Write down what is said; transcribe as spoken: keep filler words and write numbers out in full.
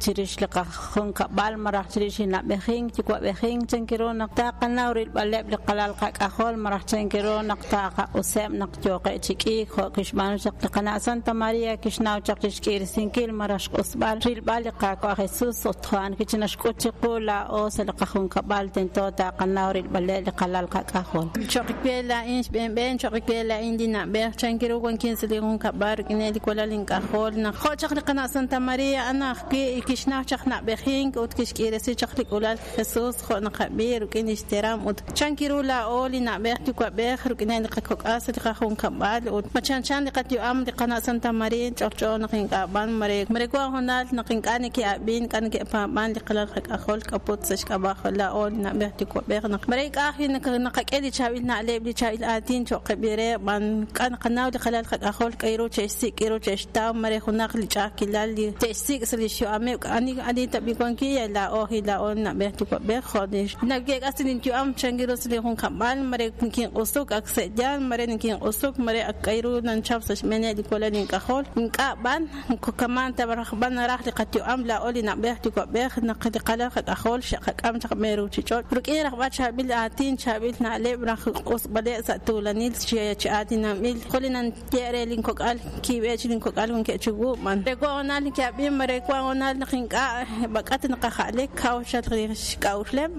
chirix li qajunkab'al malaj chirix li na'b'ejink yuwa'b'ejink chank ru naq taqanaw rilb'aleb' li qalal qak'ajol malaj chank ru naq taqaq'useb' naq yooqeb' chi k'iik jo' kixb'aanu chaq li qana' Santa María kixnaw chaq chi xk'iirisinkil malaj xq'usb'al rilb'al li Qaawa' Jesús ut jo'an kichinxk'ut chiqu laa'o sa' li qajunkab'al tento taqanaw rilb'aleb' li qalal qak'ajol. Cho'q we laa'in xb'eenb'een, cho'q we laa'in li na'b'ej, chank ru wankin sa' li junkab'al rik'ineb' li walal ink'ajol naq jo' chaq li qana' Santa María a'an ajwi' kixnaw chaq na'b'ejink ut kixk'iiresi chaq li k'ulal Jesús jo' naqab'i rik'in lix teram ut chank ru laa'o li na'b'ej yuwa'b'ej rik'ineb' li qakok'al sa' li qajunkab'al ut ma chanchan li qayu'am li qana' Santa María ch'olch'o naq ink'a' b'an mare mare wan hoonal naq ink'a' neke'ab'in ink'a' neke'paab'an li qalal qak'ajol k'aput sa' xk'ab'a' laa'o li na'b'ej yuwa'b'ej naq mare ink'a' ajwi' naqak'e li chaab'il na'leb' li chaab'il aatin cho'q qeb'i re b'an k'a naqanaw li qalal qak'ajol k'a ru che'xsik' k'a ru che'xtaw mare junaq li ch'a'ajkilal li te'xsik' sa' li xyu'ameb' ani ani tab'i wankil laa'o ajwi' laa'o li na'b'ej yuwa'b'ej jo' li nake'k'as linyu'am chank ru sa' li junkab'al mare nikinq'usuk ak se'yaal mare nikinq'usuk mare ak k'a ru nanchap sa' xb'eeneb' li walal ink'ajol ink'a' b'an kaman ta b'an naraj li qayu'am laa'o li na'b'ej yuwa'b'ej naq li qalal qak'ajol xe'qak'am chaq b'een ruuchich'och' rik'in rajb'al chaab'il aatin chaab'il na'leb' raj q'usb'aleb' sa' tuulanil chi aatinanb'il jo' li nanye re linkok'al kiib'e chi linkok'al wankeb' chiwu b'an re wan hoonal neke'ab'in mare wan hoonal naq ink'a' b'ak'at naqaja'lek kaw xal xk'a'uxleb'.